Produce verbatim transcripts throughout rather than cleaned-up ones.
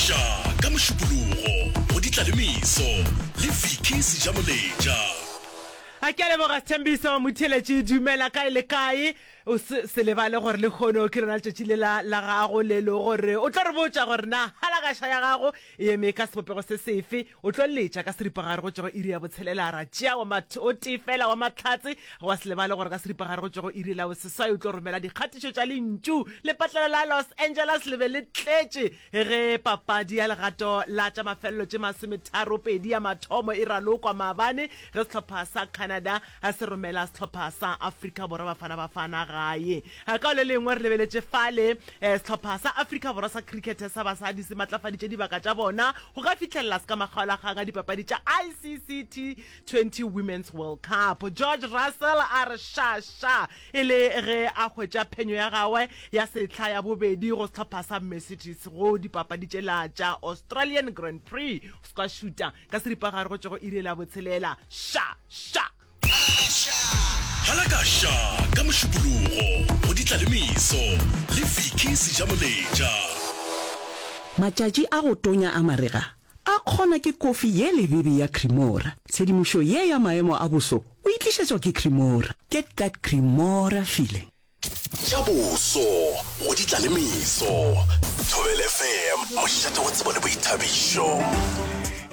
Halakaša ka Mošupologo go Ditlalemeso le Vicky Sejamoletša. A ke a leboga Sthembiso Motheeletši, dumela kae le kae. O se se lebale gore lehono ke lona letšatši le la la gago le le gore o tlo re botša gore na halakaša ya gago e eme ka sebopego se sefe. O tlo letša ka seripagare go tšwa go iri ya botshelela ra tšea wa mat o tee fela wa mahlatse. Wa se lebale gore ka seripagare go tšwa go iri la boseswai o tlo romela dikgatišo tša lentšu. Lepatlelo la Los Angeles le be le tletše ge papadi ya legato la tša mafelelo tše masometharopedi ya mathomo e ralokwa maabane ge sehlopha sa Canada se romela sehlopha sa Afrika Borwa Bafana Bafana gae. Ka le lengwe re lebeletše fale sehlopha sa Afrika Borwa sa cricket sa basadi se matlafaditše dibaka tša bona go ka fihlelela se ka makgaolakgang a dipapadi tša I C C T twenty Women's World Cup. George Russell a re ša ša e le ge a hwetša phenyo ya gagwe ya sehla ya bobedi go sehlopha sa Mercedes go dipapadi tšela tša Australian Grand Prix. Se ka šuta ka seripagare go tšwa go iri la botshelela. Ša ša! Halakaša ka Mošupologo go Ditlalemeso le Vicky Sejamoletša. Matšatši a go tonya a marega a kgona ke kofi ye lebebe ya Cremora. Tshedimošo ye ya maemo a boso o e tlišetšwa ke Cremora. Get that Cremora feeling. Tša boso go Ditlalemeso. Thobela F M, mošate wa tsebo le boithabišo.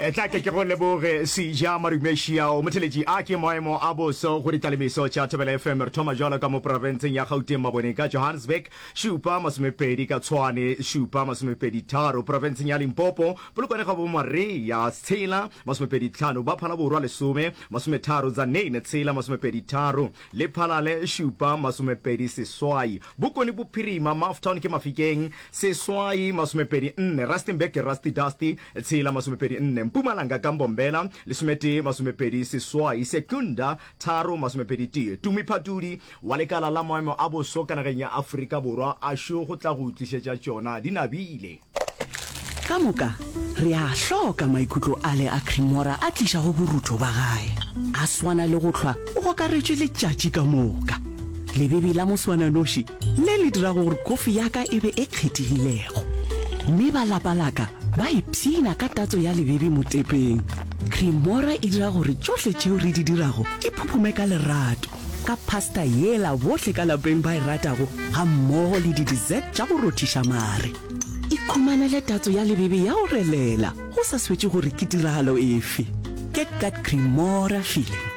Tla ke ke go leboge Seja Marumešiao. Motheletši, a ke maemo a boso go ditlalemeso tša Thobela F M. Re thoma jwalo ka mo profenseng ya Gauteng Maboneng ka Johannesburg šupa masomepedi, ka Tshwane šupa masomepedi tharo, profenseng ya Limpopo Polokwane ga bo Maria tshela masomepedi tlhano, ba Phalaborwa lesome masometharo, Tzaneen tshela masomepedi tharo, Lephalale šupa masomepedi seswai, Bokone Bophirima Maftown ke Mafikeng seswai masomepedi nne, Rustenburg ke Rusty Dusty tshela masomepedi nne, Mpumalanga ka Mbombela lesometee masomepedi seswai, Secunda tharo masomepedi tee. Tumi Phatudi wa lekala la maemo a boso ka nageng ya Afrika Borwa a šo go tla go tlišetša tšona di nabile. Ka moka re a hloka maikutlo ale a Cremora a tlišago borutho ba gae. A swana le go hlwa o gokaretšwe letšatši ka moka. Lebebe la moswananoši le le dirago gore kofi ya ka e be e kgethegilego. Mme ba lapa la ka ba ipshina ka tatso ya lebebe motepeng. Cremora e dira gore tšohle tšeo re di dirago di phuphume ka lerato, ka pasta yela bohle ka lapeng ba e ratago gammogo le di-dessert tša go rothiša mare. Ikhumanele tatso ya lebebe ya go relela go sa swetše gore ke tiragalo efe. Get that Cremora feeling.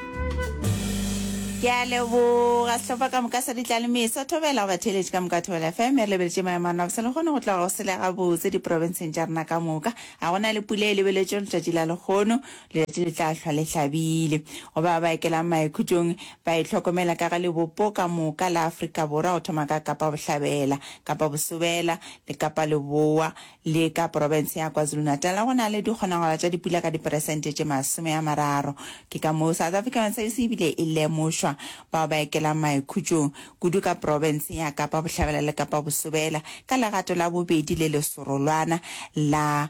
Ke a leboga sehlopha ka moka sa Ditlalemeso. Thobela go batheeletši ka moka Thobela F M. Re lebeletše maemo a rena bose lehono go tloga go sele gabotse diprofenseng tša rena ka moka. Ga go na le pula e lebeletšwego letšatši la lehono. Letšatši le tla hlwa le hlabile. Go ba ba ekelang maikhutšong ba itlhokomela ka ge lebopo ka moka la Afrika Borwa go thoma ka Kapa Bohlabela, Kapa Bosobela le Kapa Leboa le ka profense ya KwaZulu-Natal go na le dikgonagalo tša dipula ka diperesente tše masome a mararo. Ke ka moo South African Service e bile e lemošwa bao ba ekelang maikhutšong kudu ka profense ya Kapa Bohlabela le Kapa Bosobela ka legato la bobedi le lesorolwana la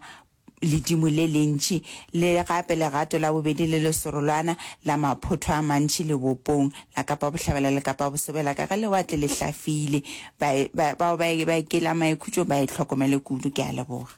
ledimo le lentši le gape legato la bobedi le lesorolwana la maphotho a mantši lebopong la Kapa Bohlabela le Kapa Bosobela ka ge lewatle le hlafile. Ba, ba, bao ba, ba ekela maikhutšo ba e hlokomele kudu. Ke a leboga.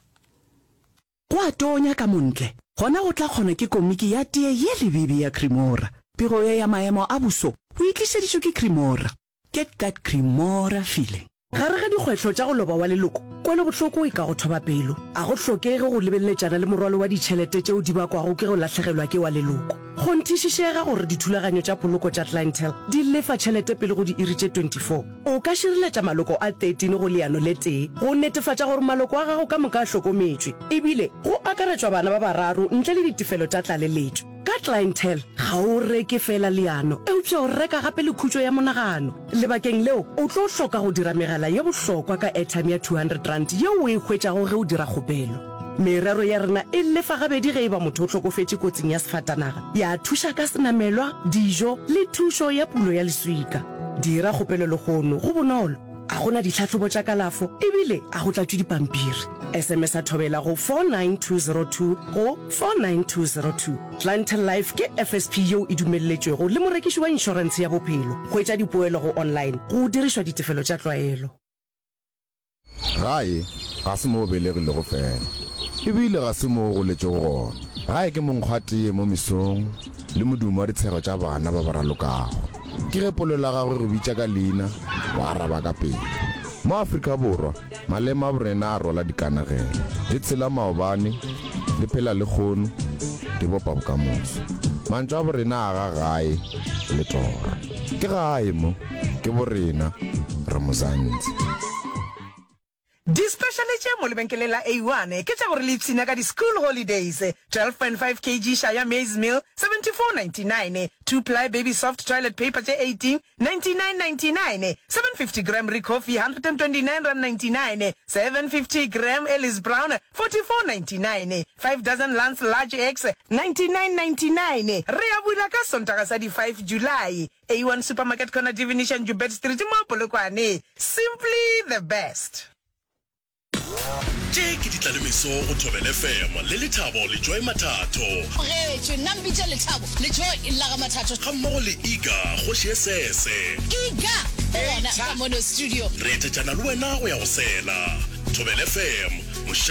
Go a tonya ka montle, gona go tla kgona ke komiki ya tee ye lebebe ya Cremora. Pego ye ya maemo a boso o e tlišeditšwe ke Cremora. Get that Cremora feeling. Gare ga dikgwetlho tša go loba wa leloko, kwelobohloko e ka go thoba pelo. A go hlokege go lebeleletšana le morwalo wa ditšhelete tšeo di bakwago ke go lahlegelwa ke wa leloko. Kgonthišišega gore dithulaganyo tša poloko tša Clientele di lefa tšhelete pele go diiri tše twenty-four. O ka šireletša maloko a thirteen go leano le tee go netefatša gore maloko a gago ka moka a hlokometšwe, ebile go akaretšwa bana ba bararo ntle le ditefelo tša tlaleletšo. Ka Clientele, ga o reke feela leano, eupša o reka gape le khutšo ya monagano. Lebakeng leo, o tlo hloka go dira megala ye bohlokwa ka airtime ya two hundred rand yeo o e hwetšago ge o dira kgopelo. Merero ya rena e lefa gabedi ge e ba motho o hlokofetše kotsing ya sefatanaga, ya thuša ka senamelwa, dijo le thušo ya pulo ya leswika. Dira kgopelo lehono, go bonolo, ga go na ditlhahlobo tša kalafo ebile ga go tlatšwe dipampiri. S M S a Thobela go four nine two zero two go four nine two zero two. Clientele Life ke F S P yeo e dumelletšwego le morekiši wa inšorentshe ya bophelo. Hwetša dipoelo go online go dirišwa ditefelo tša tlwaelo. Gae ga se mo o belegilego fela, Ebile ga se mo o goletšego gona. Gae ke monkgwatee mo mesong le modumo wa ditshego tša bana ba ba ralokago. Ke ge polelo ya gago e go bitša ka leina, o araba ka pela. Mo Afrika Borwa, maleme a borena a rwala dikanegelo. Di tshela maobane, di phela lehono, di bopa bokamoso. Mantšu a borena a aga gae le toro. Ke gae mo, ke borena, re Mzansi. Di-speciale tše mo lebenkeleng la A one ke tša gore le ipshine ka di-school holidays, twelve point five kg Shaya maize meal, seventy four ninety nine, two ply baby soft toilet paper tše eighteen, ninety nine ninety nine, seven fifty gram Ricoffy, hundred and twenty nine rand ninety nine, seven fifty gram Ellis Brown, forty four ninety nine, five dozen Lance large eggs, ninety nine ninety nine. Re a bula ka Sontaga sa di five July. A one Supermarket corner Divination Joubert Street mo Polokwane. Simply the best. Tše ke ditlalemeso go Thobela F M le Lethabo le Joy Mathatho. Tlogetšwe, nna mpitše Lethabo le Joy la ga Mathatho. Gammogo le Iga, kgoši e sese. Iga, o gona ka mono studio. Re etetšana le wena go ya go sela. Thobela F M,